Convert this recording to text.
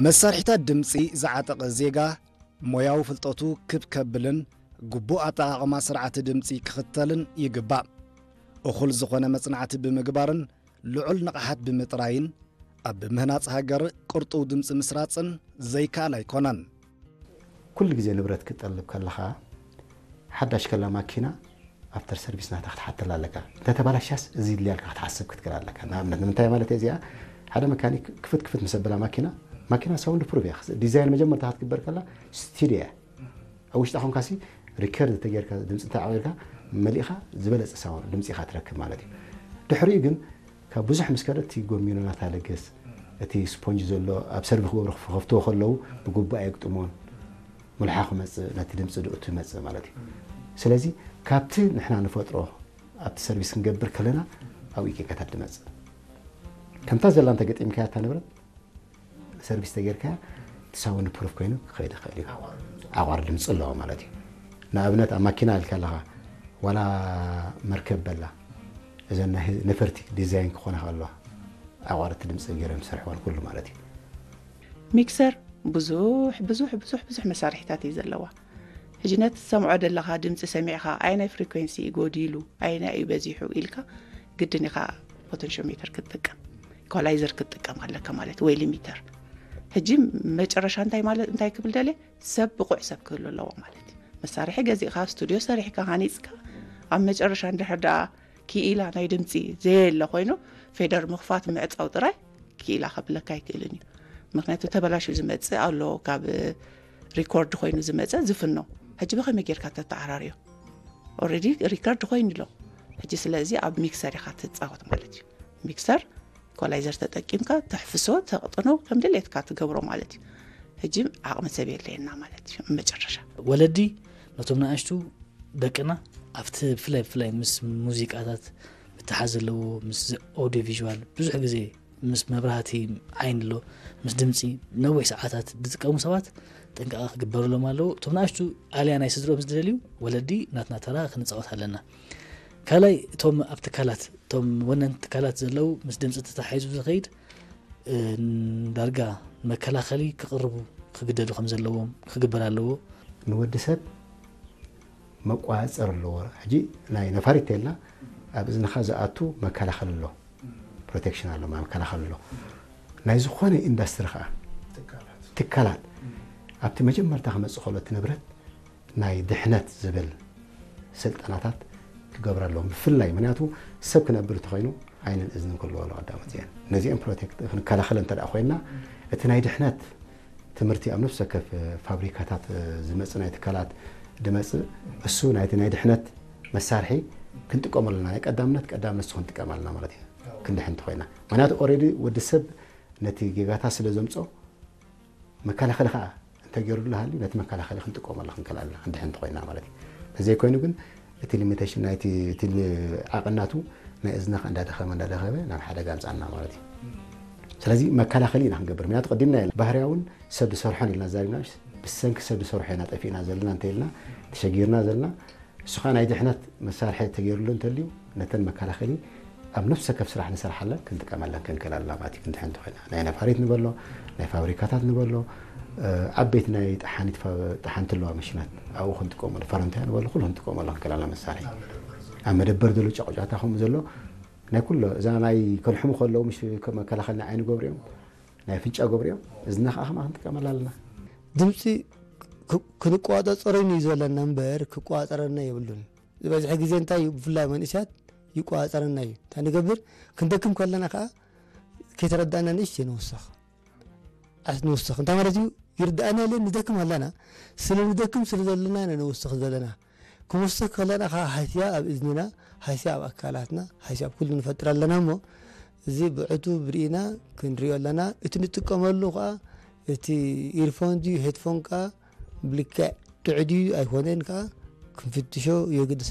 መሳርሒታት ድምጺ ዝዓጠቐ ዜጋ ሞያዊ ፍልጠቱ ክብ ከብልን ግቡእ ኣጠቓቕማ ስርዓተ ድምጺ ክኽተልን ይግባእ። እኹል ዝኾነ መጽናዕቲ ብምግባርን ልዑል ንቕሓት ብምጥራይን ኣብ ምህናጽ ሃገር ቅርጡው ድምጺ ምስራጽን ዘይከኣል ኣይኮነን። ኩሉ ግዜ ንብረት ክትጠልብ ከለኻ ሓዳሽ ከላ ማኪና ኣፍተር ሰርቪስ ናታ ክትሓተላ ኣለካ። እንተተባላሻስ እዚ ይድልያ ኢልካ ክትሓስብ ክትክእል ኣለካ። ንኣብነት ንምንታይ ማለት እየ እዚኣ ሓደ መካኒክ ክፍት ክፍት ምስ ኣበላ ማኪና ማኪና ሳውንድ ፕሩፍ እያ። ዲዛይን መጀመርታ ክትግበር ከላ ስቱድዮ እያ። ኣብ ውሽጣ ኮንካሲ ሪከርድ ተጌርካ ድምፂ እንተዓቂርካ መሊእኻ ዝበለፀ ሳውንድ ድምፂ ኢኻ ትረክብ ማለት እዩ። ድሕሪኡ ግን ካብ ብዙሕ ምስ ከደ እቲ ጎሚኖ ናታ ለገስ እቲ ስፖንጅ ዘሎ ኣብ ሰርቪ ክገብሩ ክኸፍትዎ ከለዉ ብግቡእ ኣየግጥሞን። ሙልሓ ክመፅእ ነቲ ድምፂ ድእቱ ይመፅእ ማለት እዩ። ስለዚ ካብቲ ንሕና ንፈጥሮ ኣብቲ ሰርቪስ ክንገብር ከለና ኣብኡ ጌጋታት ድመፅእ። ከምታ ዘላ እንተገጢምካያ እታ ንብረት ሰርቪስ ተጌርካያ እቲ ሳውንድ ፕሩፍ ኮይኑ ክኸይድ ይኽእል እዩ። ኣቋር ድምፂ ኣለዎ ማለት እዩ። ንኣብነት ኣብ ማኪና ኢልካ ኣለኻ ዋላ መርከብ በላ እዘን ናይ ነፈርቲ ዲዛይን ክኾና ከለዋ ኣቋርቲ ድምፂ ገይሮም ዝሰርሕዋን ኩሉ ማለት እዩ። ሚክሰር ብዙሕ ብዙሕ ብዙሕ ብዙሕ መሳርሒታት እዩ ዘለዋ። ሕጂ ነቲ ትሰምዖ ዘለኻ ድምፂ ሰሚዕኻ ኣየናይ ፍሪኩንሲ እዩ ጎዲሉ ኣየናይ እዩ በዚሑ ኢልካ ግድን ኢኻ ፖተንሽዮሜተር ክትጥቀም ኢኳላይዘር ክትጥቀም ኣለካ ማለት ወይ ሊሚተር። ሕጂ መጨረሻ እንታይ ማለት እንታይ ክብል ደልየ ሰብ ብቑዕ ሰብ ክህሉ ኣለዎ ማለት እዩ። መሳርሒ ገዚእኻ ስቱድዮ ሰሪሕካ ሃኒፅካ ኣብ መጨረሻ እንድሕር ደኣ ክኢላ ናይ ድምፂ ዘየለ ኮይኑ ፌደር ምኽፋት ምዕፃው ጥራይ ክኢላ ከብለካ ኣይክእልን እዩ። ምክንያቱ ተበላሹ ዝመፅእ ኣሎ ካብ ሪኮርድ ኮይኑ ዝመፀ ዝፍኖ ሕጂ ብኸመይ ጌርካ ተተዓራርዮ ኦረዲ ሪከርድ ኮይኑ ኣሎ። ሕጂ ስለዚ ኣብ ሚክሰር ኢኻ ትፃወት ማለት እዩ። ሚክሰር ኢኳላይዘር ተጠቂምካ ተሕፍሶ ተቕጥኖ ከም ድሌትካ ትገብሮ ማለት እዩ። ሕጂ ዓቕሚ ሰብ የለየና ማለት እዩ። መጨረሻ ወለዲ ነቶም ንኣሽቱ ደቅና ኣብቲ ብፍላይ ብፍላይ ምስ ሙዚቃታት ምትሓዝ ዘለዎ ምስ ኦዲዮ ቪዥዋል ብዙሕ ግዜ ምስ መብራህቲ ዓይን ኣሎ ምስ ድምፂ ነዊሕ ሰዓታት ዝጥቀሙ ሰባት ጥንቃቐ ክግበረሎም ኣለዎ። እቶም ንኣሽቱ ኣልያ ናይ ስድሮም ዝደልዩ ወለዲ ናትና ተራ ክንፃወት ኣለና። ካልኣይ እቶም ኣብ ትካላት እቶም ወነንቲ ትካላት ዘለዉ ምስ ድምፂ ተታሒዙ ዝኸይድ ዳርጋ መከላኸሊ ክቕርቡ ክግደዱ ከም ዘለዎም ክግበር ኣለዎ። ንወዲ ሰብ መቋፀር ኣለዎ። ሕጂ ናይ ነፋሪት ተልና ኣብ እዝንኻ ዝኣቱ መከላኸሊ ኣሎ፣ ፕሮቴክሽን ኣሎ፣ መከላኸሊ ኣሎ። ናይ ዝኾነ ኢንዳስትሪ ከዓ ትካላት ኣብቲ መጀመርታ ክመፅእ ከሎ እቲ ንብረት ናይ ድሕነት ዝብል ስልጠናታት ክገብረሎም ብፍላይ ምክንያቱ ሰብ ክነብር እንተኮይኑ ዓይንን እዝንን ክህልዎ ኣለዎ ቀዳሞት እዚአን ነዚአን ፕሮቴክት ክንከላኸል እንተ ኮይንና እቲ ናይ ድሕነት ትምህርቲ ኣብ ነፍሲ ወከፍ ፋብሪካታት ዝመፅእ ናይ ትካላት ድመፅእ እሱ ናይቲ ናይ ድሕነት መሳርሒ ክንጥቀመሉ ኣለና ናይ ቀዳምነት ቀዳምነት እሱ ክንጥቀም ኣለና ማለት እዩ ክንድሕን እንተኮይና ምክንያቱ ኦሬዲ ወዲ ሰብ ነቲ ጌጋታት ስለ ዘምፆ መከላኸሊ ከዓ እንተገይሩ ሃልዩ ነቲ መከላኸሊ ክንጥቀመሉ ክንክእል ኣለና ክንድሕን እንተኮይና ማለት እዩ ተዘይኮይኑ ግን እቲ ሊሚቴሽን ናይቲ እቲ ዓቐናቱ ናይ እዝንኻ እንዳደኸመ እንዳደኸመ ናብ ሓደጋ ኣምፃና ማለት እዩ ስለዚ መከላኸሊ ኢና ክንገብር ምክንያቱ ቀዲምና የለ ባህርያውን ሰብ ዝሰርሖን ኢልና ዛሪብና ብሰንኪ ሰብ ዝሰርሖ ኢና ጠፊእና ዘለና እንተ ኢልና ተሸጊርና ዘለና እሱ ከዓ ናይ ድሕነት መሳርሒ ተገይሩሉ እንተልዩ ነተን መከላኸሊ ኣብ ነፍሰ ከፍ ስራሕ ንሰርሓለን ክንጥቀመለን ክንክእል ኣለና ማለት እዩ ክንድሕን እንተኮይና ናይ ነፋሪት ንበሎ ናይ ፋብሪካታት ንበሎ ዓበይቲ ናይ ጠሓኒት ጠሓንቲ ኣለዋ መሽናት ኣብኡ ክንጥቀመሉ ፈረንታያ ንበሎ ኩሉ ክንጥቀመሉ ክንክእል ኣለና መሳርሒ ኣብ መደበር ዘሎ ጫቁጫታ ከምኡ ዘሎ ናይ ኩሎ እዛ ናይ ከልሕሙ ከለዉ ምሽ መከላኸሊ ናይ ዓይኒ ገብሪኦም ናይ ኣፍንጫ ገብሪኦም እዝና ከዓ ከማ ክንጥቀመላ ኣለና ድምፂ ክንቆፃፀረኒ እዩ ዘለና እምበር ክቆፃፀረና የብሉን ዝበዝሐ ግዜ እንታይ እዩ ብፍላይ መንእስያት ይቆፃፀረና እዩ እንታይ ንገብር ክንደክም ከለና ከዓ ከይተረዳእና ንእሽተይ ንውስኽ ዓስ ንውስኽ እንታይ ማለት እዩ ይርዳእና የለን ንደክም ኣለና ስለ ንደክም ስለ ዘለና ኢና ንውስኽ ዘለና ክወስኽ ከለና ከዓ ሃስያ ኣብ እዝንና፣ ሃስያ ኣብ ኣካላትና፣ ሃስያ ኣብ ኩሉ ንፈጥር ኣለና እሞ እዚ ብዕቱብ ርኢና ክንሪኦ ኣለና። እቲ ንጥቀመሉ ከዓ እቲ ኢርፎን ድዩ ሄድፎን ከዓ ብልክዕ ጥዑይ ድዩ ኣይኮነን ከዓ ክንፍትሾ የግድስ።